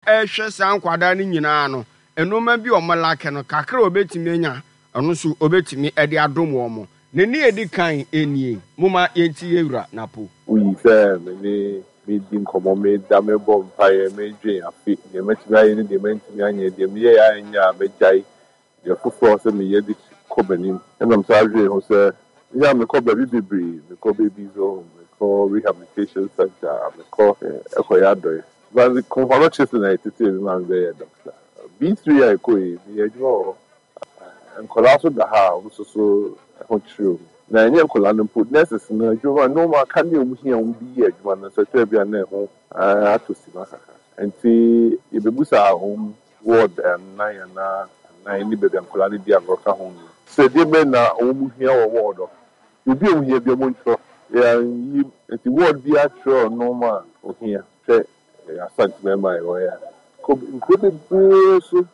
Rehwɛ saa nkwadaa no nyinaa no, nnoɔma bi a wɔn lake no, kakra a wɔbɛtumi anya, ɛno nso wɔbɛtumi de adom wɔn. Ne nne a ɛdi kan nie, Momma yɛnti yɛn Wura Napo. Woyi sɛ me ne meredi nkɔmmɔ, meda, mebɔ mpaeɛ, medwen afe, deɛ mɛtumi ayɛ ne deɛ mantumi anyɛ, deɛ meyɛeɛ a ɛnyɛ a mɛgyae, Deɛ foforɔ sɛ meyɛ de kɔ m'anim. Ɛna mesan dwenee ho sɛ, me a mekɔ baabi bebree, mekɔ babies home, mekɔ rehabilitation centre, mekɔ kɔyɛ adɔe. But Komfo-Anokye so na yɛtetee me ma mebɛyɛɛ doctor. B3 a yɛkɔe yi, meyɛɛ adwuma wɔ hɔ. Nkwadaa nso da ha a wɔn nso so ho kyere wɔn. Na ɛnyɛ nkwadaa no mpo, nurses no adwuma, nneɛma aka ne a wɔhia a wɔde yɛ adwuma no nso, ɛtɔ da bi a na ɛho atɔ simma kakra. Nti yɛbɛbisaa wɔn Ward nnan anaa anan ne baabi a nkwadaa no di agorɔ ka ho no. Sɛ deɛ bɛn na wɔn hia wɔ ward hɔ. Biribi a wɔn hia biara wɔn ntwerɛ. Yɛanyi nti ward biara twerɛ nnoɔma a wɔhia. Hwɛ Asante mmarima a yɛwɔ ha. Kɔ nkuro bebree so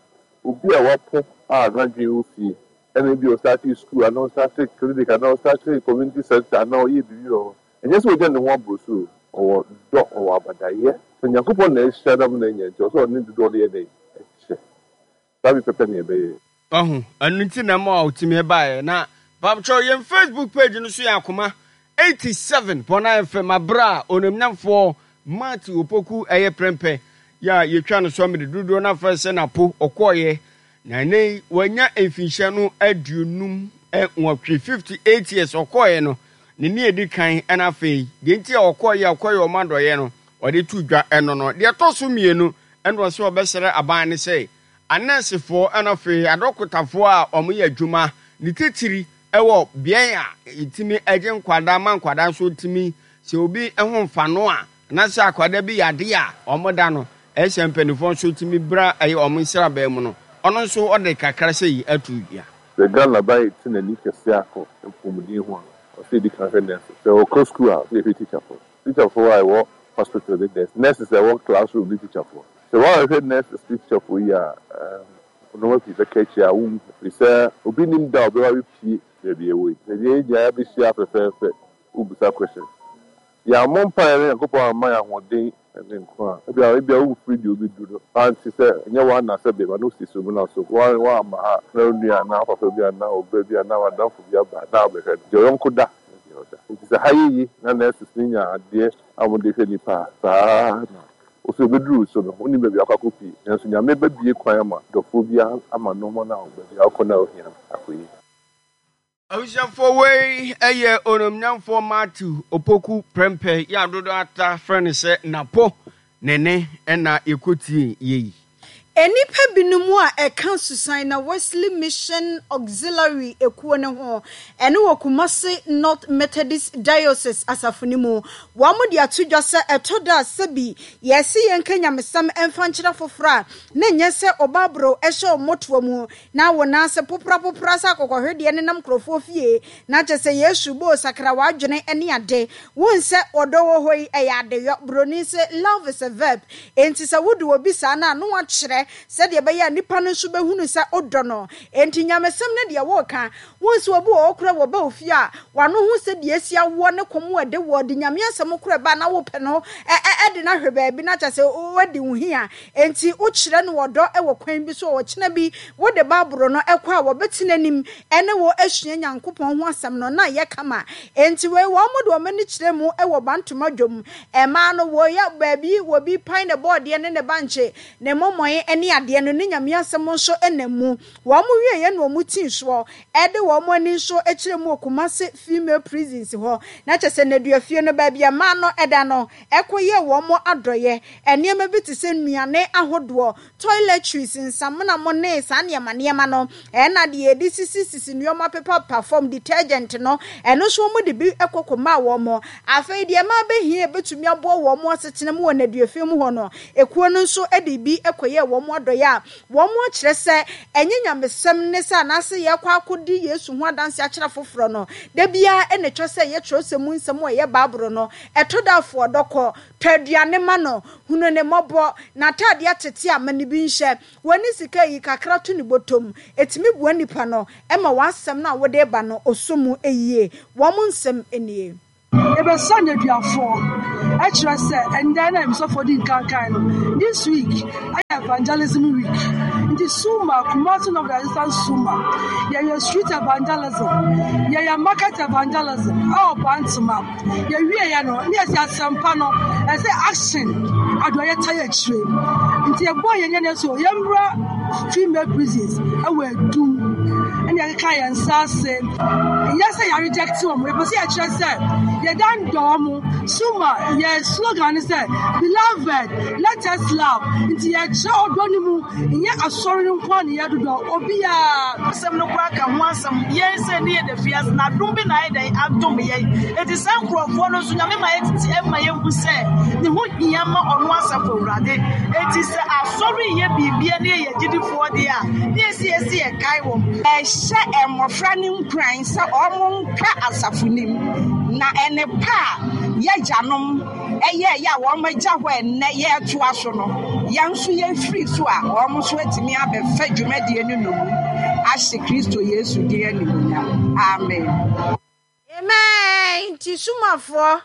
obi a wapo a n'adwene wɔ fie ɛna ebi ɔstartee school anaa ɔstartee clinic anaa ɔstartee community center anaa ɔyɛ biribi wɔ hɔ. Ɛnyɛ sɛ ogya ne ho aboro so o, ɔwɔ dɔ, ɔwɔ abadayɛ. Sɛ Nyankopɔn na ahyira no ama no anya nti, ɔsɛ ɔne dodoɔ no yɛ dɛn? Kyɛ. Saa bi pɛpɛ na yɛbɛyɛ. Wahu, ɛno nti na ɛma ɔtumi baeɛ. Na paapkyɛw yɛn Facebook page no so yɛ Akoma 87.9 FM aberɛ a Onimnyamfoɔ Matthew Opoku ɛyɛ prɛmpɛ yɛ a yɛtwa no so amene dodoɔ no afrɛ sɛ Napo ɔkɔeɛ Na ɛnnɛ yi wanya mfinhyia no 58, 58 years, ɔkɔeɛ no, ne nne a ɛdi kan ɛna afei, deɛ nti a ɔkɔeɛ a ɔkɔyɛ ɔma adɔeɛ no, ɔde to dwa ɛno no. Deɛ ɛtɔ so mmienu, ɛna ɔsɛ ɔbɛsrɛ aban no sɛ, anɛɛsefoɔ ɛna afei adɔkotafoɔ a wɔyɛ adwuma, ne titiri ɛwɔ beaɛ a yɛtumi gye nkwadaa ma nkwadaa nso tumi, sɛ obi ho mfa no a, Anaasɛ akwadaa bi yɛ adeɛ a wɔda no, ɛyɛ sɛ mpanimfoɔ nso tumi bra ɛyɛ wɔn nsraban mu no, ɔno nso ɔde kakra sei ato dwa. Sɛ Ghana ban rete n'ani kɛse akɔ mpɔmuden ho a, ɔsɛ yɛdi kan hwɛ nurses. Sɛ ɔkɔ sukuu a, ɔsɛ yɛhwɛ tikyafoɔ. Tikyafoɔ a ɛwɔ hospital ne nurse, nurses a ɛwɔ classroom ne tikyafoɔ. Sɛ woanhwɛ nurses ne tikyafoɔ yie a, nneɛma pii bɛka akyire a wonhu. Ɛfiri sɛ obi nnim da a ɔbɛba abɛpue baabi a ɛwɔ yi. Sɛ yɛn nyinaa bɛhyia fɛfɛɛfɛ, wobisa questions. Yɛammɔ mpaeɛ na Nyankopɔn amma yɛn ahoɔden ne nkwa a, ebia ebia womfiri deɛ wobɛduru no ante sɛ ɛnyɛ wo anaa sɛ bɛma no si so mena so, woamma ha na wo nua anaa wo papa bi anaa wo ba bi anaa w'adamfo bi aba na wabɛhwɛ no, deɛ ɔyɔnko da ne deɛ ɔda. Enti sɛ ha yɛ ye na nurses no nya adeɛ a wɔde hwɛ nnipa a, saa ara na wo nso ɛbɛduru wo so no, wonnim baabi a wokɔ akɔpue, nanso Nyame bɛbue kwan ama dɔfoɔ bi ama nnoɔma no a baabi a wokɔ no a wohia no akɔyie. Abusuafoɔ wei yɛ Onimnyamfoɔ Matthew Opoku Prempeh yi a dodoɔ ara frɛ no sɛ Napo ne ne na yɛkɔtie yei. Nnipa binom a ɛka Susanna Wesley Mission Auxiliary ekuo no ho, ɛno wɔ Kumasi North Methodist Diocese asafo no mu. Wɔde ato dwa sɛ ɛtɔ da a sɛbi yɛse yɛnka nyamesɛm mfa nkyerɛ afoforɔ a, na ɛnyɛ sɛ ɔbaaboro hyɛ wɔn mmɔtoa mu Na wo nan ase poprapopra sɛ akokɔhwedeɛ nenam nkurɔfoɔ fie, na kyerɛ sɛ Yesu boo sakra w'adwene ne ade. Wohu sɛ ɔdɔ wɔ hɔ yi, ɛyɛ adeyɔ. Buroni se, Love is a verb. Enti sɛ wodɔ obi saa no a, na woakyerɛ sɛdeɛ ɛbɛyɛ a nipa no nso bɛhunu sɛ wodɔ no. Enti nyamesɛm no deɛ woreka. Wohu sɛ obi wɔ hɔ koraa wɔba wo fie a, w'ano ho sɛ deɛ asi awoɔ ne kɔm a ɛde woɔ, de Nyame asɛm koraa ba a na wopɛ no de no ahwɛ baabi na kyerɛ sɛ woadi wo hia. Enti wokyerɛ no ɔdɔ wɔ kwan bi so a ɔkyena bi wode Bible no kɔ a wɔbɛtena anim ne wo asua Nyankopɔn ho asɛm no na ayɛ kama. Enti wei wɔn de wɔn ani kyerɛ mu wɔ Bantoma dwom. Mmaa no wɔyɛ baabi wɔbi pan ne bɔɔdeɛ ne ne bankye, ne mɔmɔe ne adeɛ no ne Nyame asɛm nso nam mu. Wɔn wieɛ na wɔn tii soɔ de wɔn ani nso kyerɛ mu wɔ Kumasi Female Prisons hɔ. Na kyerɛ sɛ nneduafie no baabi a mmaa no da no kɔyɛɛ wɔn adɔeɛ. Nneɛma bi te sɛ nnuane ahodoɔ, toiletries, nsamena mo ne saa nneɛma nneɛma no, ɛna deɛ yɛde sisisisi nneɛma pepapepa fam, detergent no, ɛno nso wɔde bi kɔ kɔmaa wɔn. Afei deɛ ɛma abɛhia a ɛbɛtumi aboa wɔn asetena mu wɔ nnaduafie mu hɔ no, ekuo no nso de bi kɔyɛɛ wɔn adɔeɛ a wɔakyerɛ sɛ ɛnyɛ nyamesɛm ne sɛ anaasɛ yɛrekɔ akɔdi Yesu ho adanse akyerɛ afoforɔ no. Da biara na ɛtwa sɛ ɛyɛ twerɛsɛm mu nsɛm a ɛyɛ Bible no. Ɛtɔ da a fa ɔdɔ kɔ. Tɔ aduane ma no. Hunu no mmɔbɔ. N'ataadeɛ atete a, ma no bi nhyɛ. Wonni sika a, yi kakra to ne bɔtɔ mu. Ɛtumi boa nipa no ma w'asɛm no a wode reba no ɔsɔ mu yie. Wɔn nsɛm nie. Yɛbɛsra nneduafoɔ, ɛkyerɛ sɛ ɛndɛ na mesɔfoɔ di nkan kae no, this week. Evangelism Week. Nti Suma, Kumasi North Diocesan Suma, yɛyɛ street evangelism, yɛyɛ market evangelism ɛwɔ Bantama. Yɛwieɛ no, ne yɛsi asɛmpa no, ɛsɛ action adɔeɛ tae akyire. Nti yɛbɔɔ yɛn ani so, yɛmmra female prisons ɛwɔ Adum, ɛna yɛkeka yɛn nsa ase. Nyɛ sɛ yɛ reject wɔn, yɛpɛ sɛ yɛkyerɛ sɛ yɛdan dɔ wɔn. Suma, yɛ slogan ne sɛ, Beloved, let us love. Nti yɛkyerɛ ɔdɔ no mu. Nnyɛ Asɔr no nko ara na yɛdodɔ, obiara. Asɛm no koraa ka ho asɛm. Yɛn sɛ ne yɛda fiase na adom bi na ayɛ dɛn adom yɛn. Enti saa nkurɔfoɔ no nso Nyame ma yɛtete ɛma yɛhu sɛ ne ho hia ma ɔno asafo Awurade. Enti sɛ asɔre reyɛ biribia ne yɛyɛ agyidifoɔ deɛ a, ne yɛsi yɛ sɛ yɛkae wɔn. Ɛhyɛ mmofra no nkuran sɛ wɔnka asafo no mu, na nnepa a y'agyanom yɛeɛ a wɔagya hɔ a ɛnnɛ yɛretoa so no, yɛn nso yɛfiri so a, wɔn nso atumi abɛfa dwumadie no nnommum ahyɛ Kristo Yesu din animuonyam. Amen. Amen nti sumafoɔ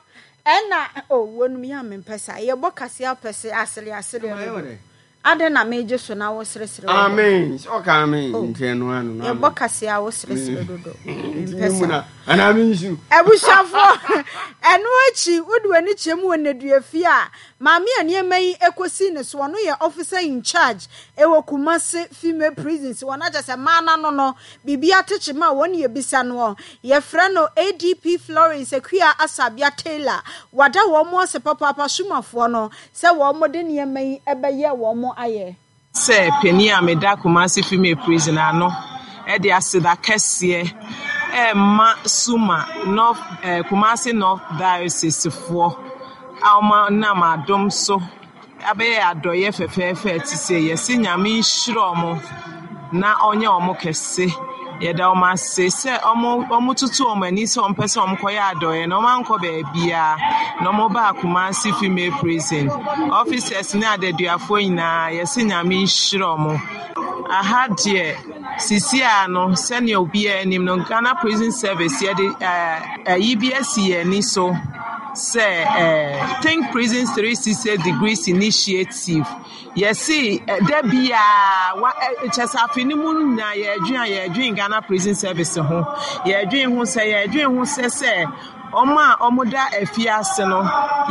ɛna oh wɔnum yɛ a mempɛ saa yɛbɔ kaseɛ apɛ se asere asere dodo adɛn na megye so na wo seresere wɔ hɔ Amen sɛ ɔka amen oh nti ɛno ano no yɛbɔ amen kaseɛ a wo seresere dodo nti mempɛ me mu saa na anaa me nsu abusuafoɔ ɛno akyi wode w'ani kyerɛ mu wɔ nneduafie a maame a nneɛma yi ɛkɔsi ne so ɔno yɛ officer in charge ɛwɔ Kumasi female prisons wɔn akyɛ sɛ mmaa no ano no Biribi atekye ma wɔn yɛbisa noɔ. Yɛfrɛ no ADP Florence Akua Asabea Taylor. Wada wɔn ase papaapa Sumafoɔ no sɛ wɔn de nneɛma yi bɛyɛ wɔn ayɛ. Sɛ panin a meda Kumasi Female Prison ano de aseda kɛseɛ rema Suma North eh, Kumasi North Diocese foɔ a wɔnam adom so Abɛyɛ adɔyɛ fɛfɛɛfɛ a ɛte sei. Yɛse Nyame nhyira ɔmo na ɔnyɛ ɔmo kɛse. Yɛda ɔmo ase sɛ ɔmo ɔmo tutu ɔmo ani sɛ ɔmo pɛ sɛ ɔmo kɔyɛ adɔyɛ no ɔmo ankɔ baabiaa na ɔmo baa Kumasi Female Prison. Officers ne adaduafoɔ nyinaa yɛse Nyame nhyira ɔmo. Aha deɛ sisi a no sɛnea obiara nim no Ghana Prison Service yɛde ayi bi asi yɛn ani so sɛ Think Prisons 360 Degrees Initiative. Yɛse da biara wa kyɛ sɛ afe no mu nyinaa yɛredwen a yɛredwen Ghana Prison Service ho. Yɛredwen ho sɛ yɛredwen ho sɛ sɛ wɔn a wɔda afiase no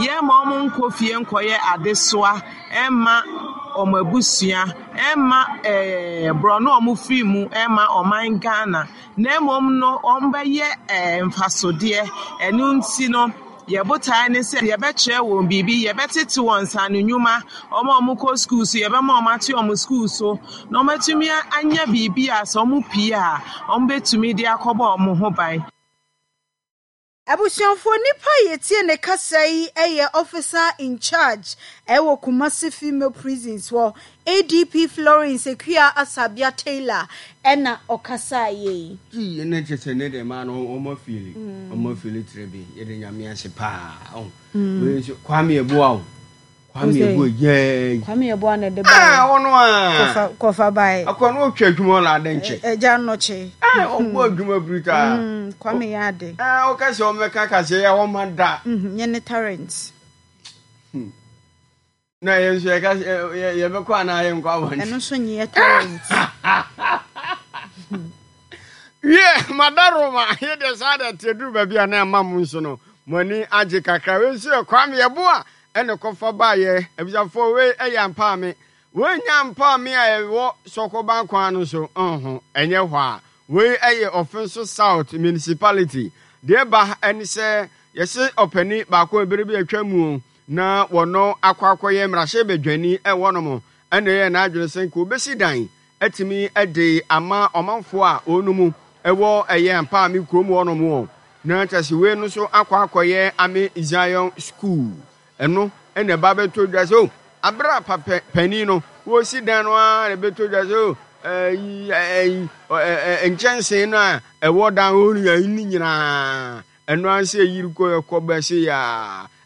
yɛmma wɔn nkɔ fie nkɔyɛ adesoa mma wɔn abusua. Ɛmma ɛɛ borɔno a wɔfiri mu mma ɔman Ghana, na mmom no wɔbɛyɛ ɛɛ mfasodeɛ. Ɛno nti no, yɛn botaeɛ ne sɛ yɛbɛkyerɛ wɔn biribi, yɛbɛtete wɔn nsaano nnwuma, wɔn a wɔkɔ sukuu so, yɛbɛma wɔate wɔn sukuu so, na wɔatumi anya biribi a sɛ wɔpue a, wɔbɛtumi de akɔbɔ wɔn ho ban. Abusuafoɔ nipa a yɛtie ne kasa yi yɛ Officer in charge wɔ Kumasi Female Prisons hɔ, ADP Florence Akua Asabea Taylor na ɔkasaeɛ yi. Gee ɛnɛ kyɛ sɛ ne deɛ maa no ɔmo afeeli ɔmo afeeli tire bi yɛde nyame ase paa ɔn wei nso Kwame Abua o Kwame Yeboah yɛɛ. Kwame Yeboah na ɛde baeɛ. Ah, ɔno a. Kɔfa kɔfa baeɛ. Akɔ no ɔtwa adwuma ɔla ade nkyɛ. Ɛgya nnɔkye. Ah, ɔbɔ adwuma brutaa. Mm, Kwame yɛ ade. Ah, ɔka sɛ ɔmɛka kaseɛ yɛ ɔma da. Mm, nyɛ ne talent. Hmm. Na yɛn nso yɛka yɛbɛkɔ anaa yɛnkɔ abɔnten. Ɛno nso nyɛ talent. Wiɛ, madaroma, yɛ deɛ saa deɛ te aduru baabi a na ɛma mo nso no mo ani agye kakra. Wei nso yɛ Kwame Yeboah ɛna kɔfa baayɛ. Abusuafoɔ wei ɛyɛ ampaame. Wei nyɛ ampaame a ɛwɔ Sɔkɔban kwan no so nho, ɛnyɛ hɔ a. Wei ɛyɛ Offinso South Municipality. Deɛ ɛba ɛne sɛ yɛse ɔpani baako ɛbere bi atwa mu na wɔno akɔ akɔyɛ mmarahyɛbadwani ɛwɔ nom ɛna ɛyɛ n'adwene sɛ nka obɛsi dan atumi de ama ɔmanfoɔ a wɔnom wɔ ɛyɛ Ampaame kurom hɔnom wɔ na kyerɛ sɛ wei no nso akɔ akɔyɛ Ame Zion School. Ɛno na ɛba bɛtɔ dwa sɛ o abere a papa panin no wɔresi dan no ara na ɛbɛtɔ dwa sɛ o ɛyi ɛyi nkyɛnsee no a ɛwɔ dan hɔ no nyinaa ɛno ara sɛ ɛyiri kɔ ɛkɔ bɛse yɛ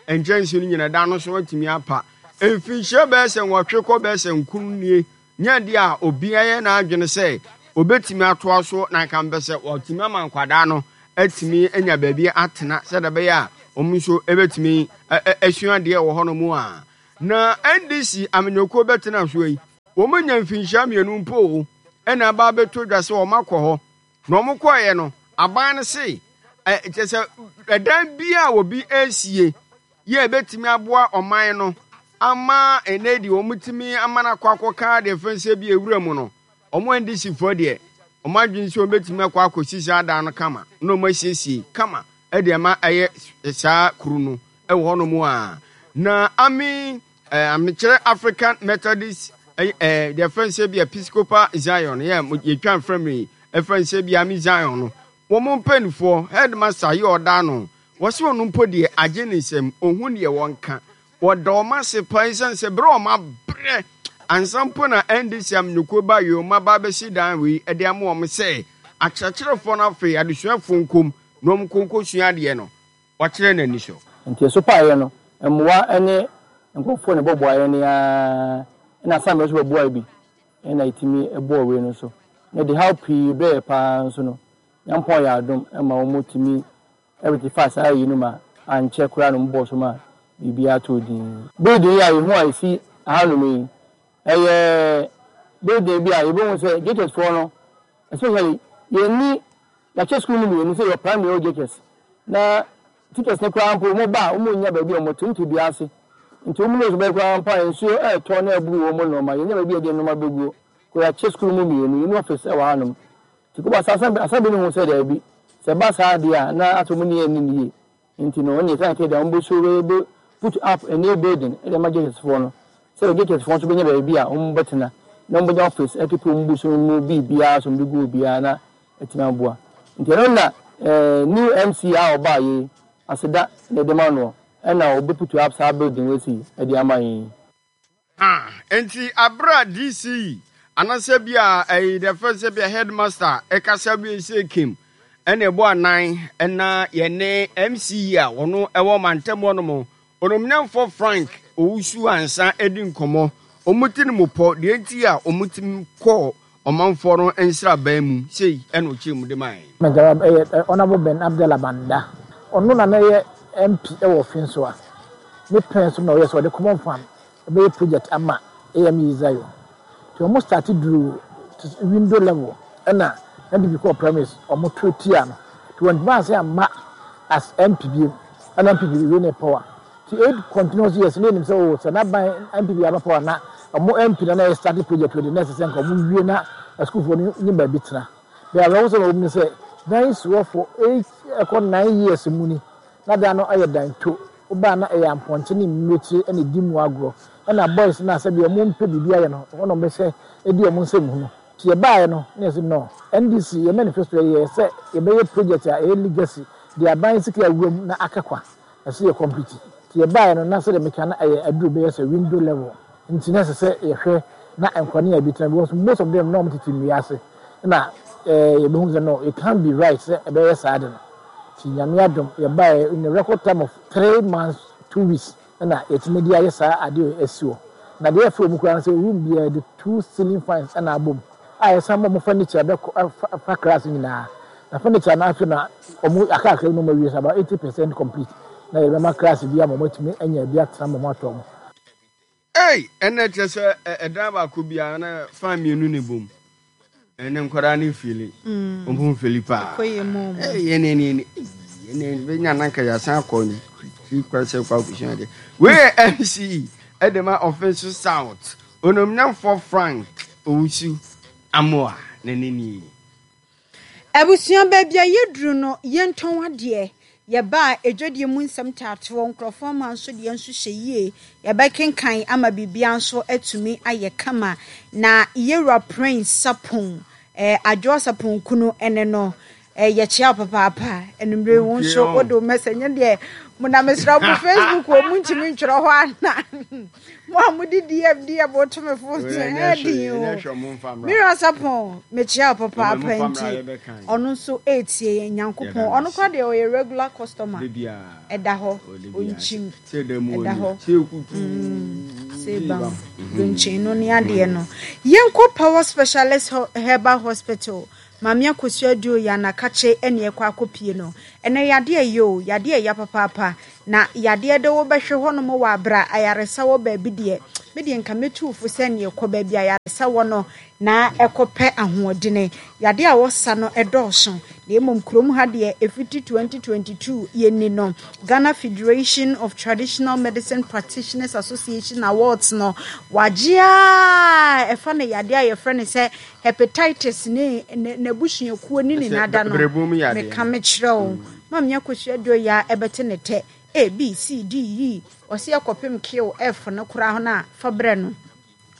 a nkyɛnsee no nyinaa dan no so atumi apa. Mfinhyia bɛyɛ sɛ nwɔtwe kɔ bɛyɛ sɛ nkron nie Nyɛ adeɛ a obiara yɛ n'adwene sɛ ɔbɛtumi atoa so na anka mpɛ sɛ wɔatumi ama nkwadaa no atumi anya baabi atena sɛdeɛ ɛbɛyɛ a wɔn nso bɛtumi asua adeɛ wɔ hɔnom a. Na NDC amanyɔkuo bɛtena soɔ yi, Wɔanya mfinhyia mmienu mpo o, ɛna aba abɛtɔ dwa sɛ wɔakɔ hɔ. Na wɔkɔeɛ no, aban no se, ɛ, kyerɛ sɛ ɛdan biara a obi resie yɛ a ɛbɛtumi aboa ɔman no ama ɛnɛ deɛ wɔtumi ama no akɔ akɔka deɛ fɛn sɛ bi ewura mu no, wɔn NDC foɔ deɛ, wɔn adwene sɛ wɔbɛtumi akɔ akɔsi saa dan no kama na wɔasiesie kama de ama ɛyɛ saa kuro no wɔ hɔnom a. Na ame Eh, mekyerɛ African Methodist eh, eh, deɛ fɛn sɛ bi Episcopal Zion yɛ yɛtwa mfrɛ me ɛfɛn sɛ bi Ami Zion no wɔn mpanimfoɔ headmaster yɛ ɔda no wɔsi wɔn mpo deɛ agye ne nsam ohun deɛ wɔnka wɔda wɔn ase paa ɛsiane sɛ berɛ wɔn abrɛ ansa mpo na NDC amanyɔkuo ba yɛ wɔn aba abɛsi dan wei ɛde ama wɔn sɛ akyerɛkyerɛfoɔ no afei adesuafoɔ nkom na wɔn nkonko sua adeɛ no wakyerɛ n'ani so. Nti ɛso paeɛ no, mmoa ne nkurɔfoɔ na ɛbɔboa yɛn ara, ɛna asammerɛ nso bɛboae bi, ɛna yɛtumi bɔɔ wei no nso. Na ɛde haw pii brɛɛ yɛ paa nso no, Nyankopɔn yɛ adom ma wɔtumi rectify saa ayi no ma ankyɛ koraa na wɔbɔɔ so ma biribiara tɔɔ din. Building yi a yɛhu a ɛsi hanom yi, ɛyɛ building bi a yɛbɛhu sɛ JHS foɔ no, especially yɛnni Yɛakyɛ sukuu no mmienu sɛ yɛwɔ primary yɛwɔ JHS na teachers no koraa mpo wɔn ba a wɔn nnya baabi a wɔn te wɔn te dua ase nti wɔn nose bɛyɛ koraa mpo a nsuo ɛretɔ na ɛburu wɔn nnoɔma yɛnnya baabi a yɛde nnoɔma bɛguo kɔ yɛakyɛ sukuu no mu mmienu yɛnni office ɛwɔ hanom nti kɔba saa assembly no hu sɛ daabi sɛ ɛba saa deɛ a na asɛ wɔn nni yɛn nni no yie Nti no ɔne sɛ anka deɛ wɔn bɛsu bɛ bɛ put up a new building de ama JHS foɔ no sɛdeɛ JHS foɔ nso bɛnya baabi a wɔn bɛtena na wɔn bɛnya office ɛkeep wɔn books no mu biribiara so wɔn de gu obiara na atumi aboa nti ɛno na eh, new MC a ɔbaa yei aseda na ɛde ma noɔ ɛna ɔbɛ put up saa building wei si ɛde ama yɛn yi. Ah, enti aber a DC anasɛ bi a ɛyi the first sɛ bi a headmaster ɛkasa wie sɛ kim ɛna ɛbɔ anan ɛna yɛne MC a wɔno ɛwɔ mantam hɔ nom onomnyamfoɔ Frank Owusu Ansa ɛdi nkɔmɔ wɔn ti no mu pɔ deɛ nti a wɔn ti kɔɔ ɔmanfoɔ no nsraban mu sei ɛna ɔkyerɛ mu de mae. Mɛnkyɛ ɛyɛ Honourable Ben Abdallah Banda ɔno na na ɛyɛ MP ɛwɔ Finsoa ne pɛn so na ɔyɛ sɛ ɔde common fund bɛyɛ project ama AME Zion nti ɔmo start duru window level ɛna NPP kɔɔ primaries ɔmo to tia no nti wɔntumi ansan amma as MP biom ɛna NPP win power nti eight continuous years na yɛnim sɛ oh sɛ n'aban NPP aba power na ɔmo MP na na yɛ start project wei de na ɛsɛ sɛ nka ɔmo wie na asukuufoɔ no nye baabi tena bɛyɛ awerɛhosɛm a ɛwɔ mu ne sɛ dan si hɔ for eight ɛkɔ nine years mu ni na dan no ayɛ dan to Woba a na ɛyɛ ampɔnkye ne mmirekyire na ɛdi mu agorɔ. Ɛna boys no a sɛdeɛ wɔn mpɛ biribi ayɛ no, ɛhɔ na wɔbɛhyɛ adi wɔn nsɛm hunu. Nti yɛbaeɛ no na yɛse no, NDC yɛn manifesto yɛyɛɛ sɛ yɛbɛyɛ project a ɛyɛ legacy, deɛ aban sika awura mu na aka kwa, ɛsɛ yɛ complete. Nti yɛbaeɛ no na sɛdeɛ meka no ɛyɛ aduru bɛyɛ sɛ window level, nti na ɛsɛ sɛ yɛhwɛ na nkwadaa no nya bi tena because most of them na wɔtete nnua ase na yɛbɛhu sɛ no, it can't be right sɛ ɛbɛyɛ saa ade no. Nti Nyame adom yɛbaeɛ in a record time of 3 months 2 weeks ɛna yɛtumi de ayɛ saa adeɛ wei asi hɔ. Na deɛ ɛfɛ wɔ mu koraa ne sɛ room biara yɛde two ceiling fans ɛna abɔ mu a yɛsan ma wɔn furniture bɛkɔ fa class nyinaa. Na furniture no afei na wɔn akakra bi na wɔn awie so about 80% complete na yɛde bɛma class bi ama wɔn atumi anya bi atena ma wɔn atɔ wɔn. Ei! Ɛnna kyerɛ sɛ ɛdan baako biara na fan mmienu na ɛbom. Ɛnna nkwadaa no mfili. Wɔn ho mfili paa. Ei, ɛnna ɛnna ɛnna ɛnna bɛnya na nka yɛasan akɔ ne kwan sɛ kɔ akɔsua adeɛ. Wei yɛ MC ɛde ma Ɔfenso South. Onomnyamfoɔ Frank Owusu Amoah na ne nie. Abusua, baabi a yɛduru no, yɛntɔn adeɛ. Yɛba a, adwadie mu nsɛm taatoɔ, nkurɔfoɔ mma nso deɛ nso hyɛ yie. Yɛbɛkenkan ama biribiara nso atumi ayɛ kama. Na Yɛwura Prince Sarpong, eh, Adwoa Sarpong kunu ne no. Eh, yɛkyea wo papaapa. Anwummere yi, wo nso wode wo message nyɛ deɛ mo na mesrɛ mo Facebook wɔ mo ntumi ntwerɛ hɔ ana. Mo a mode DM DM woto me fo so ɛyɛ den o. Mira Sapon mekyia wo papaapa nti ɔno nso ɛretie yɛn Nyankopɔn ɔno kora deɛ ɔyɛ regular customer ɛda hɔ ɔnkyim ɛda hɔ sɛ bam donkyen no ne adeɛ no. Yɛnkɔ Power Specialist Herbal Hospital Maame Akosua Aduo yɛ anakakye ɛne ɛkɔ akɔpie no. Ɛnɛ yadeɛ ɛyɛ o yadeɛ ɛya papaapa. Na yadeɛ de wo bɛhwe hɔnom wɔ abrɛ a ayaresa wɔ baabi deɛ, me deɛ nka mɛtu wo fo sɛ neɛ kɔ baabi a ayaresa wɔ no na kɔpɛ ahoɔdene. Yadeɛ a wɔsa no dɔɔso, na mmom kurom ha deɛ ɛfiti 2022 yɛnni no. Ghana Federation of Traditional Medicine Practitioners Association Awards no, wɔagye ara ɛfa no yadeɛ a yɛfrɛ no sɛ hepatitis ne n'abusuakuo ne ne nada no. Meka mekyerɛ wo. Maame Akosua Duoya ɛbɛte ne tɛ A, B, C, D, E ɔse ɛkɔpem Q, F no koraa no a fa brɛ no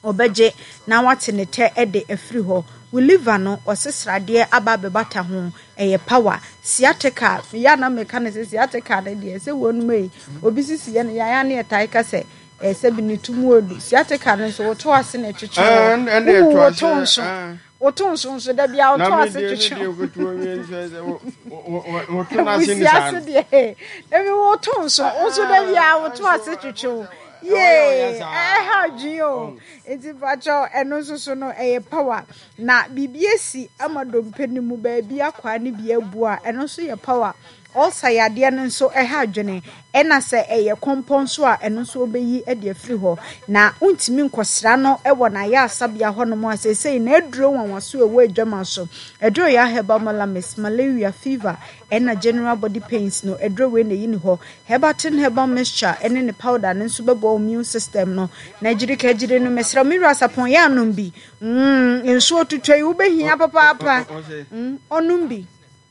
ɔbɛgye na wate ne tɛ de afiri hɔ. Wo liver no ɔse sradeɛ aba abɛbata ho ɛyɛ power. Sciatica meyɛ a na meka no sɛ sciatica no deɛ sɛ wɔnom ei obi sisi yɛ no yaya ne yɛtae ka sɛ ɛɛ sɛbi ne to mu ɔdu. Sciatica no nso woto ase na ɛtwetwe wo, wowu woto nso. Woto nso nso da bia woto ase twetwe. Abusua so deɛ ebi woto nso nso da bia woto ase twetwe wo. Yee ɛha adwene o. Nti mpakyɛw ɛno nso so no ɛyɛ power. Na biribi esi ama dompe no mu baabi akwaa no bi abu a ɛno nso yɛ power. Ulcer yadeɛ no nso ɛha adwene, ɛna sɛ ɛyɛ kɔmpɔ nso a ɛno nso wɔbɛyi de afiri hɔ. Na wontumi nkɔsra no wɔ n'ayaresabea hɔnom a seesei n'aduro nwanwaso a ɛwɔ adwama so. Aduro yɛ herbal malamis, malaria, fever, ɛna general body pains no, aduro wei na ɛyi ne hɔ. Herbatin herbal mixture ɛne ne powder no nso bɛboa wo immune system no. Na agyirika agyiri no, mesrɛ me wura sapɔn yɛ anom bi. Mm, nsuo tutɔ yi wobɛhia papaapa. Mm, ɔnom bi.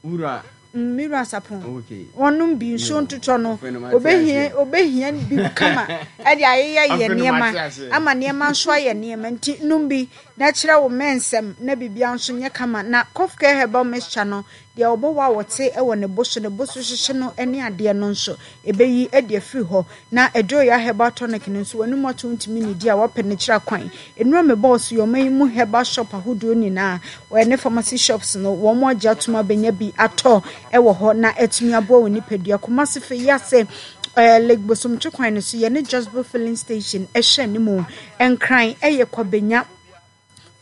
Wura. Mm, me wura sapon. Okay. Wɔnom bi nsuo ntotɔ no. Obehia obehia bi kama ɛde ayeyɛ yɛ nneɛma ama nneɛma nso ayɛ nneɛma nti nom bi na kyerɛ wo mɛnsɛm na biribiara nso nyɛ kama na cough care herbal mixture no deɛ ɔbɔ wɔ a wɔte wɔ ne bo so ne bo so hyehye no ne adeɛ no nso ɛbɛyi de afiri hɔ Na Adwoya herbal tonic no nso w'anum ato wontumi nnidi a woapɛ no kyerɛ kwan. Nnura mebɔɔ so yɛ ɔman yi mu herbal shop ahodoɔ nyinaa ne pharmacy shops no wɔn agye atom abɛnya bi atɔ wɔ hɔ na atumi aboa wo nipadua. Kumasi Feyiase eh, Lake Bosomtwe kwan no so yɛne Josbo filling station ɛhyɛ anim. Nkran ɛyɛ Kwabenya.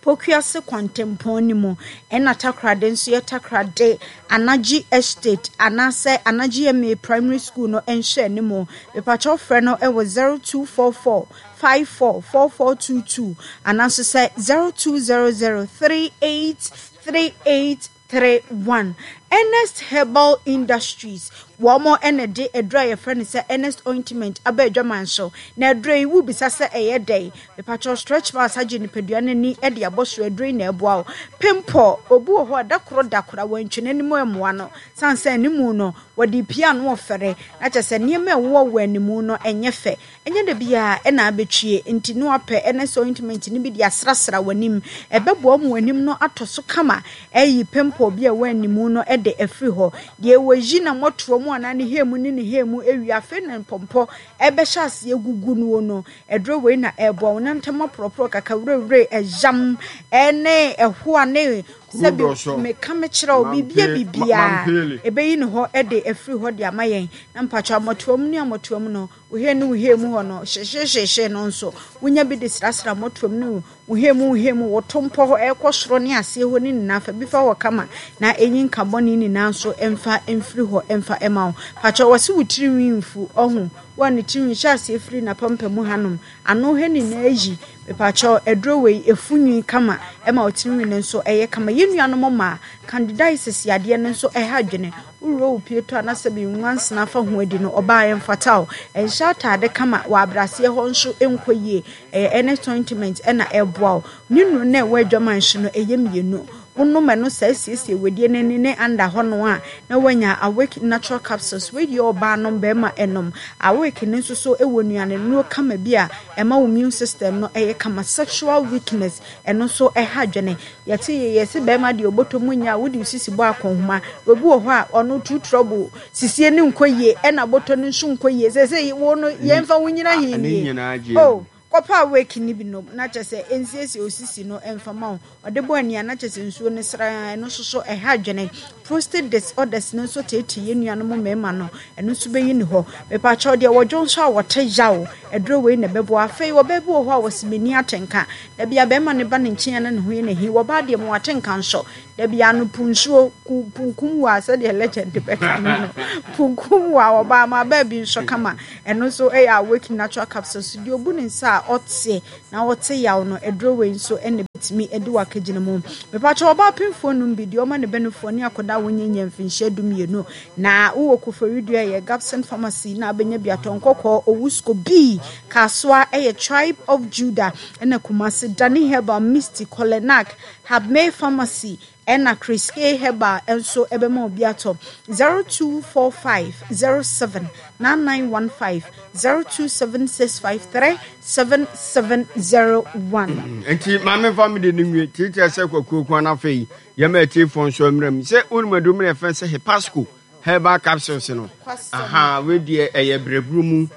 Pokuase kwantempɔn no mu, ɛna Takoradi nso yɛ Takoradi Anagye Estate anaasɛ Anagye MA Primary School no nhwɛanimu. Mepakyɛw frɛ no wɔ 0244 54 4422 anaa nso sɛ 0200 38 38 31. Ernest Herbal Industries, wɔn na ɛde aduro a yɛfrɛ no sɛ Ernest Ointment aba adwaman so. Na aduro yi, wobisa sɛ ɛyɛ dɛn? Mepakyɛw stretch marks agye nipadua no ani de abɔ so, aduro yi na ɛboa wo. Pimple, obi wɔ hɔ a da koro da koro a wantwi n'anim ammoa no, sane sɛ animu no, wɔde pia ano ɔfɛre, na kyerɛ sɛ nneɛma a ɛwowɔ wɔ animu no ɛnyɛ fɛ. Ɛnyɛ da biara na abɛtwie, nti na wapɛ Ernest ointment no bi de asrasra w'anim. Ɛbɛboa wo ma w'anim no atɔ so kama, ayi pimple bi a ɛwɔ animu no de afiri hɔ. Deɛ wɔyi na mmɔtoɔ mu anaa ne hair mu ne ne hair mu awie, afei na mpɔmpɔ ɛbɛhyɛ aseɛ gugu noɔ no, aduro wei na ɛboa wo. Nantam aporɔporɔ, kakawirewire, ɛyam, ɛne ɛhoa ne sɛbi meka mekyerɛ wo, biribia biribiara ɛbɛyi ne hɔ de afiri hɔ de ama yɛn. Na mpakyɛ mmɔtoa mu ne ammɔtoa mu no, Wo hair ne wo hair mu hɔ no hyehyehyehye no nso, wonya bi de srasra mmɔtoam ne wo hair mu wo hair mu, wo to mpɔ hɔ ɛrekɔ soro ne aseɛ hɔ ne nyinaa fa bi fa hɔ kama na ɛnyi nka bɔne nyinaa nso mfa mfiri hɔ mfa ɛma wo. Pakyɛ wɔse wo tiri nwi mfu ɔho wo a ne tiri nwi hyɛ aseɛ firi n'apampamu hanom ano ha nyinaa yi mepakyɛ aduro wei ɛfu nwi kama ɛma wo tiri nwi no nso ɛyɛ kama. Yɛn nuanom mmaa candidiasis yadeɛ no nso ɛha adwene. Worewura wo pie tɔ a na sɛbe nwansena fa ho adi no, ɔbaa ɛmfata wo. Ɛnhyɛ ataade kama wɔ abraseɛ hɔ nso nkɔ yie. Ɛyɛ Ernest ointment na ɛboa wo. Ne nnuro no a ɛwɔ adwaman so no, ɛyɛ mmienu. Wonom ɛno saa siesie wedeɛ no ani ne under hɔ no a, na woanya Awake Natural Capsules. Wei deɛ ɔbaa nom, barima nom. Awake no nso so wɔ nnuane nnuro kama bi a ɛma wo immune system no yɛ kama. Sexual weakness, ɛno nso ɛha adwene. Yɛte yɛ yɛse bɛɛma deɛ ɔbɔtɔ mu nyɛ a wode wo sisi bɔ akɔnhoma. Obi wɔ hɔ a ɔno too trouble sisie no nkɔ yie ɛna bɔtɔ no nso nkɔ yie sɛsɛ wo no yɛnfa wo nyina he nie oh kɔpɛ awake no bi nom na kyɛ sɛ ɛnsiesie wo sisi no ɛmfa ma wo ɔde bɔ ani a na kyɛ sɛ nsuo no sraa ɛno nso so ɛha adwene prostate disorders no nso teetee yɛn nuanom mmarima no ɛno nso bɛyi ne hɔ mepakyɛw deɛ wɔdwo nso a wɔte yaw aduro wei na ɛbɛboa afei ɔbaa bi wɔ hɔ a wɔsi m'ani atenka Da bi a bɛrima no ba ne nkyɛn a na ne ho yɛ no ahi. Wɔ ɔbaa deɛ mu atenka nso. Da biara no po nsuo, ku punkum wa sɛdeɛ legend bɛka no no. Punkum wa ɔbaa ma baabi nso kama. Ɛno nso yɛ Awake Natural Capsules. Deɛ ɔbu ne nsa a ɔte na ɔte yaw no, aduro wei nso na ɛbɛtumi de wo akagyina mu. Mepakyɛ ɔbaa pemfoɔ nom bi, deɛ ɔma ne ba nufoɔ ne akwadaa a wɔnyɛ mfinhyia 12. Na wowɔ Koforidua ɛyɛ Gabson Pharmacy na abɛnya bi atɔ nkɔkɔɔ, Owusko B, Kasoa ɛyɛ Tribe of Judah, ɛna Kumasi, Dani Herbal, Misty, Kolenak, Habmay Pharmacy, ɛna Chris K Herbal nso ɛbɛma obi atɔ 0245 07 9915 027653 7701. Nti maame fa me de no nwie tiatia sɛ kwakuo kwan no afei yɛma atiefoɔ nso mmerɛ mu sɛ wonim aduro mu na ɛfɛn sɛ hepasco herbal capsules no aha wei deɛ ɛyɛ brɛburu mu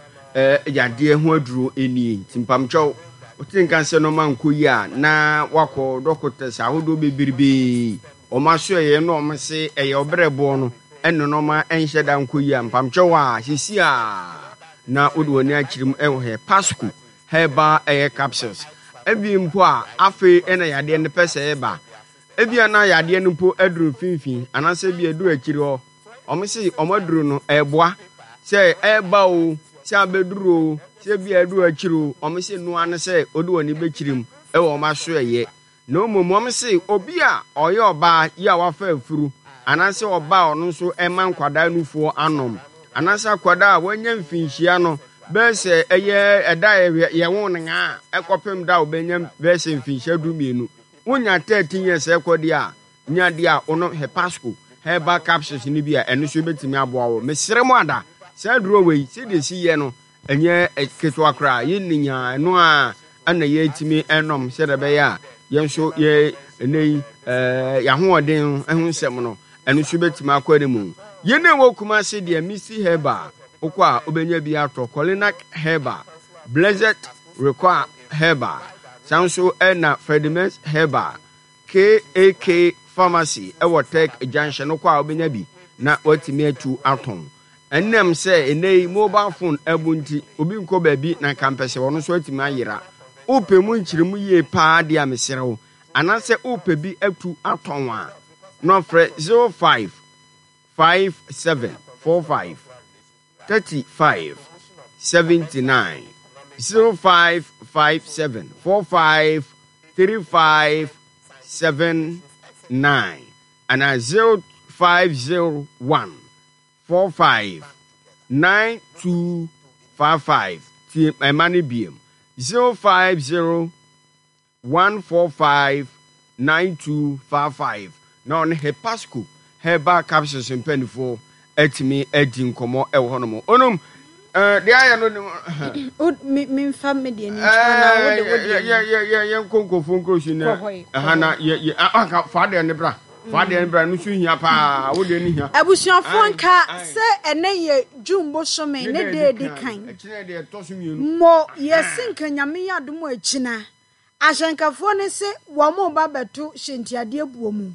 yadeɛ ho aduro nie nti mpamkyɛw wote nka sɛ nɔɔma nkɔ yi a na wakɔ dɔkotɛs ahodoɔ bebrebe wɔn aso ɛyɛ na wɔn se ɛyɛ ɔbrɛboɔ no ɛna nɔɔma ɛnhyɛ da nkɔ yi a mpamkyɛw a sisi a na wode w'ani akyerɛ mu ɛwɔ hepasco herbal ɛyɛ capsules ebi mpo a afei ɛna yadeɛ no pɛ sɛ ɛba Ebia na yadeɛ no mpo aduru mfimfini anaasɛ ebia aduru akyiri hɔ. Wɔn se wɔn aduru no ɛreboa sɛ ɛreba o, sɛ abɛduru o, sɛ ebia aduru akyiri o, wɔn se noa ne sɛ wode wɔn ani bɛkyiri mu wɔ wɔn asoɛeɛ. Na mmom wɔn se obi a ɔyɛ ɔbaa yi a wafa afuru anaasɛ ɔbaa a ɔno nso ɛma nkwadaa nufoɔ anom anaasɛ akwadaa a wanya mfinhyia no bɛyɛ sɛ ɛyɛ ɛda a yɛwo no ngaa ɛkɔpem da a ɔbɛnya bɛyɛ sɛ mfinhyia 12. Wonya 13 years ɛkɔ deɛ a, nya deɛ a wonom Hepasco herbal capsules no bi a ɛno nso bɛtumi aboa wo. Mesrɛ mo ada, saa aduro wei sɛdeɛ ɛsi yɛ no ɛnyɛ ketewa koraa, yɛnni nyaa ɛno a ɛna yɛtumi ɛnom sɛdeɛ ɛbɛyɛ a yɛn nso yɛ ɛnɛ yi ɛɛ yɛahoɔden ho nsɛm no ɛno nso bɛtumi akɔ anim. Yɛn a ɛwɔ Kumasi deɛ Misty Herbal wokɔ a wobɛnya bi atɔ, Kolinak Herbal, Blessed Require Herbal, saa nso na Ferdimens Herbal, KAK Pharmacy wɔ Tech Junction no kɔ a wobɛnya bi na woatumi atu atɔn. Ɛnam sɛ ɛnnɛ yi mobile phone abu nti, obi nkɔ baabi na nka mpɛ sɛ ɔno nso atumi ayera. Wopɛ mu nkyerɛmu yie paa deɛ a mesrɛ wo, anaasɛ wopɛ bi atu atɔn a, na frɛ 055745. 35 79 05 57 45 35 79 anaa 0501 45 92 55 tie ɛma no biem 050 145 9255 na ɔne Hepasco Herbal Capsules mpanimfoɔ atumi adi nkɔmmɔ wɔ hɔnom. Onom, eh, deɛ ayɛ no ne O, me memfa me deɛ no nkyerɛ na wo de wo deɛ no. Yɛnkɔ nkurɔfoɔ nkuro so na Kɔ hɔ yi, kɔ ɛha na hɔ. yɛ yɛ ah, anka fa deɛ no bra fa deɛ no bra no nso hia paa wo deɛ no hia. Abusuafoɔ Ae, nka ae. sɛ ɛnɛ yɛ June bosome Ne ne da da a edi ɛdi kan, kan. ɛkyena deɛ ɛtɔ so mmienu. Mo yɛse nka Nyame yɛ adom a ɛkyina Ahyɛnkafoɔ no se wɔn reba abɛto hyɛntiadeɛ boɔ mu,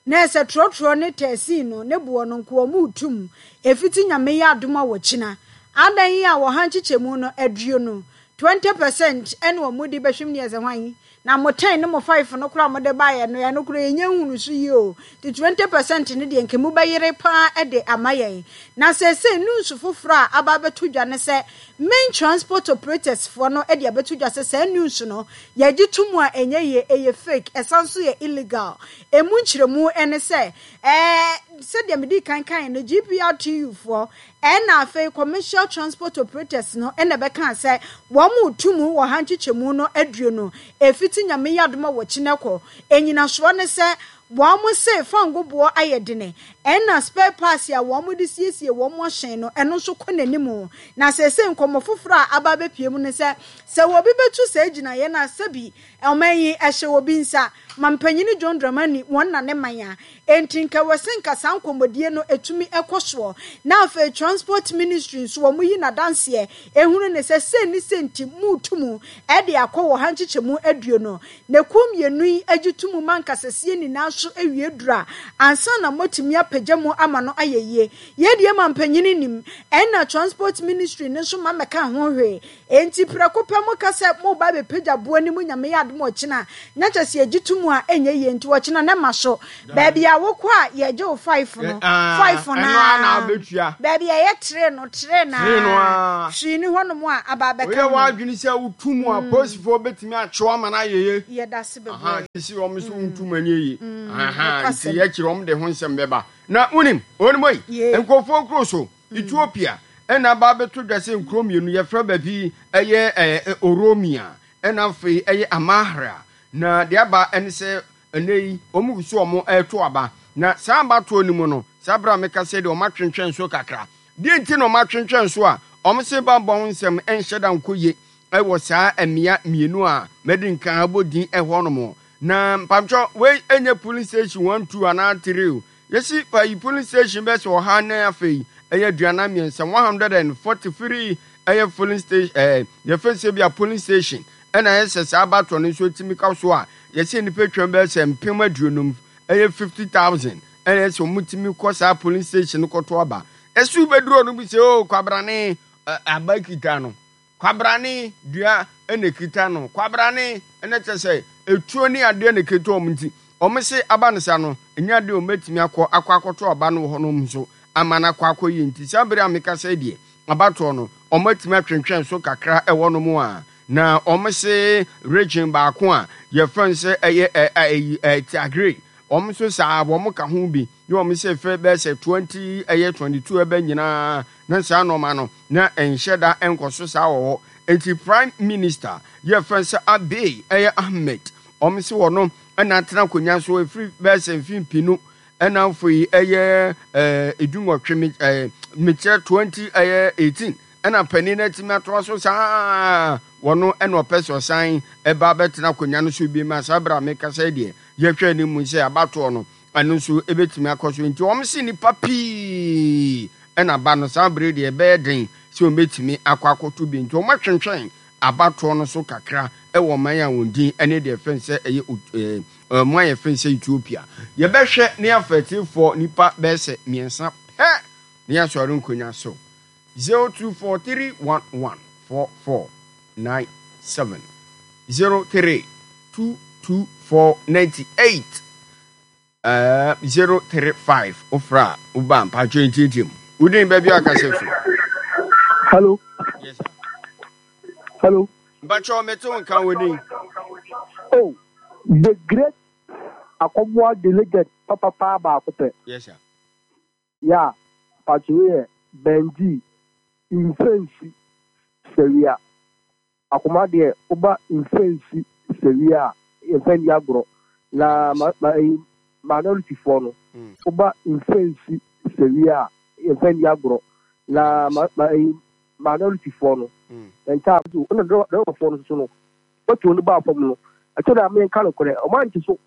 na ɛsɛ trɔtrɔ ne tɛɛsii no ne boɔ no nko wɔn retu mu, ɛfiti Nyame yɛ adom a wɔkyina. Adan yi a wɔha nkyekyɛmu no aduonu, 20 percent, ɛna wɔn de bɛhwem ne ɛsɛ hwan? Na mo ten ne mo five no koraa a mode baeɛ no, ɛno koraa yɛnnya nhunu so yie o. Nti 20 percent no deɛ nka mobɛyere pa ara de ama yɛn. Na seesei news foforɔ a aba abɛto dwa ne sɛ, Main Transport Operators foɔ no de abɛto dwa sɛ saa news no yɛgye to mu a ɛnyɛ yie, ɛyɛ fake, ɛsan nso yɛ illegal. Ɛmu nkyerɛmu ne sɛ, ɛɛ sɛdeɛ medii kan kaeɛ no, GPRTU foɔ ɛna afei Commercial Transport Operators no na ɛbɛkaa sɛ wɔn reto mu wɔ ha nkyekyɛmu no aduonu ɛfiti Nyame yɛ adom a wɔkyi no kɔ. Ɛnyinasoɔ ne sɛ Wɔn se fango boɔ ayɛ dene, ɛna spare parts a wɔn de siesie wɔn ahyɛn no, ɛno nso kɔ n'anim. Na seesei nkɔmmɔ foforɔ a aba abɛpue mu ne sɛ, sɛ obi bɛtu saa gyinaeɛ no a, sɛbi ɔman yi ɛhyɛ obi nsa. Mampanyini John Dramani wɔn na ne man a, enti nka ɛwɔ sɛ nka saa nkɔmmɔdie no ɛtumi kɔ soɔ. Na afei Transport Ministry nso wɔn yi n'adanseɛ ɛhunu ne sɛ sei ne sei nti moretu mu de akɔ wɔ ha nkyekyɛmu aduonu. Na kuo mmienu yi gye to mu ma nkasasie nyinaa. nso awie duru a, ansa na moatumi apagya mu ama no ayɛ yie. Yei deɛ mampanin nnim, ɛnna Transport Ministry no nso mma mmɛka ho hwee. Enti prɛko pɛ moka sɛ moreba abɛpagya boɔ no mu Nyame yɛ adom ɔkyena a, na kyerɛ sɛ yɛgye to mu a ɛnyɛ yie nti ɔkyena no ɛma so. Baabi a wokɔ a yɛgye wo five no, five no ara. Baabi a ɛyɛ three no, three no ara. Hwee nni hɔnom a aba abɛka Woyɛ ho. w'adwene sɛ wotu mu a, polisifoɔ bɛtumi akye wo ama no ayɛ yie. Yɛda ase bebree. Sisi wɔn nso wontu mu anyɛ yie. Nti yɛkyerɛ wɔn de ho nsɛm bɛba. Na wonim, wɔnim yi, nkurɔfoɔ nkuro so, Ethiopia, ɛna aba abɛto dwa sɛ nkuro mmienu, yɛfrɛ baabi ɛyɛ ɛɛ Oromia, ɛna afei ɛyɛ Amahra. Na deɛ aba ɛne sɛ ɛnɛ yi wɔn gu so wɔn ɛreto aba. Na saa abatoɔ no mu no, saa berɛ a meka sɛ deɛ wɔn atwentwɛn so kakra. Deɛ nti na wɔn atwentwɛn so a, wɔn se bammɔ ho nsɛm ɛnhyɛ da nkɔ yie ɛwɔ saa mmea mmienu a madi nkan abɔ din ɛhɔ nom. Na mpakyɛw wei ɛnyɛ polling station one two anaa three o. Yɛsi payi polling station bɛyɛ sɛ ɔha ne afei ɛyɛ 43 143 ɛyɛ polling station ɛɛ yɛfɛ sɛ bi a polling station ɛna ɛyɛ sɛ saa abatoɔ no nso etimi ka so a yɛsi nnipa atwam bɛyɛ sɛ 50,000 ɛyɛ 50,000 ɛna ɛyɛ sɛ wɔn tumi kɔ saa polling station no kɔto aba. Ɛso bɛduro no bi sɛ o kwabrane aba kita no. Kwabrane dua na ɛkita no. Kwabrane na kyerɛ sɛ etuo ne adeɛ na ɛkita wɔn nti, wɔn se aba no sa no, ɛnyɛ adeɛ wɔn bɛtumi akɔ akɔ akɔto aba no wɔ hɔnom nso ama no akɔ akɔ yie nti saa bere a mekasa yi deɛ abatoɔ no wɔn atumi atwentwɛn so kakra ɛwɔ nom a na wɔn se region baako a yɛfrɛ no sɛ ɛyɛ ɛ ɛ ɛ Tigray wɔn nso saa wɔn ka ho bi ne wɔn se fɛ bɛyɛ sɛ 20 ɛyɛ 22 ɛbɛ nyinaa na saa nnoɔma no na ɛnhyɛ da nkɔ so saa wɔ hɔ. Enti Prime Minister yɛfrɛ no sɛ Abiy ɛyɛ Ahmed, wɔn se wɔno na atena akonnwa so ɛfiri bɛyɛ sɛ mfe mpenu ɛna afei ɛyɛ ɛɛ 18 me ɛɛ mekyerɛ 20 ɛyɛ 18 ɛna panin no atumi atoa so saa wɔno ɛna ɔpɛ sɛ ɔsan ɛba abɛtena akonnwa no so bi ma saa berɛ a mekasa yi deɛ yɛhwɛ anim sɛ abatoɔ no Ɛno nso ɛbɛtumi akɔ so. Nti wɔn se nnipa pii na aba no saa bere deɛ ɛbɛyɛ den sɛ wɔn bɛtumi akɔ akɔto bi. Nti wɔn atwentwɛn abatoɔ no so kakra wɔ ɔman a wɔn din ne deɛ fɛn sɛ ɛyɛ ɔman a yɛfɛn sɛ Ethiopia. Yɛbɛhwɛ ne afa atiefoɔ nnipa bɛyɛ sɛ mmiɛnsa pɛ na yɛasɔre nkonnwa so. 0243114497 0322498 035 wofrɛ a woba mpakyɛ ntiatia mu wodin baabi a kasa firi. Hello. Yes, sir. Hello. Mpakyɛ mete wo nka wodin. Oh, the great Akɔboa delegate papapa baako pɛ. Yes, sir. Yeah, mpakyɛ wei yɛ Benji Mfɛnsi Sawia. Akoma deɛ woba Mfɛnsi Sawia a yɛmfa nni agorɔ. Na ma ma ɛyi minority foɔ no woba Mfɛnsi Sawia a yɛmfa nni agorɔ. Na ma ma ɛyi minority foɔ no ntaa so ɛna driver foɔ no nso no petrol no baa fam no ɛtɔ da a menka nokorɛ wɔn ante so.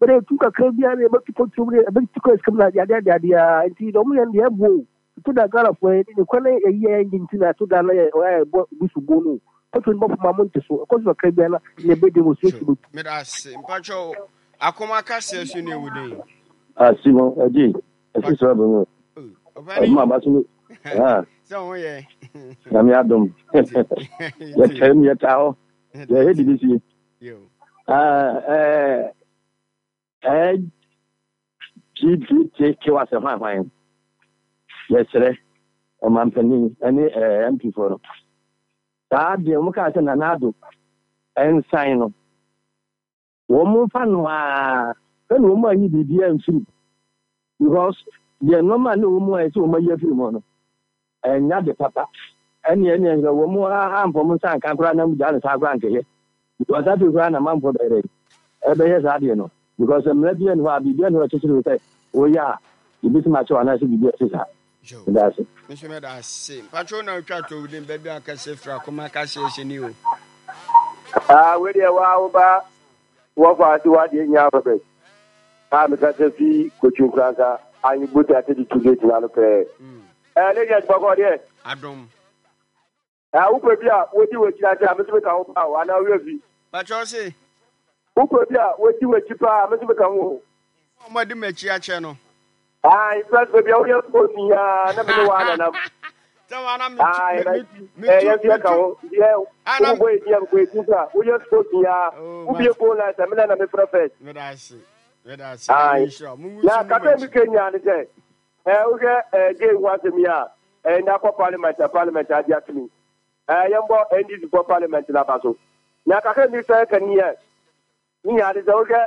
Bɛde etu kakra bi ara na yɛbɛtu kɔtu mu yɛbɛtu kɔ sika mu na adeade adeade ara nti deɛ wɔyɛ no deɛ ɛboɔ o ɛto da Ghanafoɔ yɛ ne kwan na yɛyi yɛn gye nti na ɛto da na yɛ ɔyɛ ɛbɔ bi so bo no kɔtu no bɔfo ma mo nte so ɛkɔ so kakra bi ara na ne ɛbɛdi wɔ suo so meda ase mpakyɛw akoma kaseɛ so ne ɛwɔ den Asimo ɛgye ɛsi sɛ ɔbɛn mu ɔmo aba so ne sɛ ho yɛ nyame adom yɛtɛm yɛtaa hɔ yɛhɛ de bi sie LGBTQ asɛ hwan hwan yɛsrɛ ɔmampanin ne MP foɔ no saa deɛ wɔn kaa sɛ Nana Addo nsan no wɔn mfa no ara ɛna wɔn anyi biribiara mfiri because deɛ nneɛma a na wɔn mu ayɛ sɛ wɔn ayi afiri mu no Ɛnyɛ ade papa. Ɛneɛ ɛneɛ nka wɔn amfa wɔn nsa anka koraa na gyaa no saa koraa nkɛyɛ. Because afei koraa na manfoɔ bɛyɛ dɛn? Ɛbɛyɛ saa adeɛ no. Because mmara biara nni hɔ a biribiara nni hɔ a ɛkyekyere wo sɛ woyɛ a yɛbɛtumi akyɛ wo anaasɛ biribi a ɛte saa. Yo. Meda ase. Me nso meda ase. Mpacho na otwa to wodin baabi a kɛse fira koma kase ɛhyɛ ni o. Ah, wei deɛ waa wo ba wɔfa ase wadeɛ nyinaa Robert a mekasa fi Kotwi Nkoransa anyi bota 32 gate no ano pɛɛ. Ɛɛ lady Atipɔkɔ deɛ. Adom. Ɛɛ wopɛ bi a wodi w'akyi ase a me nso meka ho paa o anaa woyɛ fi. Pakyɛ ɔse. Wopɛ bi a wodi w'akyi paa a me nso meka ho o. Wɔn adi m'akyi akyɛ no. Ayi first baby a woyɛ sports yi aa na me ne wa nanam. Sɛ wa na me tu Ayi me na me ɛ tu yɛn fi me ɛka tu. ho yɛ Ah na wobobɔ yɛ din a bobɔ yɛ din kura woyɛ sports yi aa oh wobie mate phone line sɛ me na na me frɛ first. me da ase me da ase nyame Ayi nhyira wo. Mungu na nso nni kasa mi m'akyi. ka nyinaa ne sɛ ɛ wohwɛ ɛ gay ho asɛm yi a ɛ na akɔ parliament a parliament agye atum yi ɛ yɛn bɔ NDC fɔ parliament na ba so na kakra mi sɛ ka ni yɛ ne nyinaa ne sɛ wohwɛ.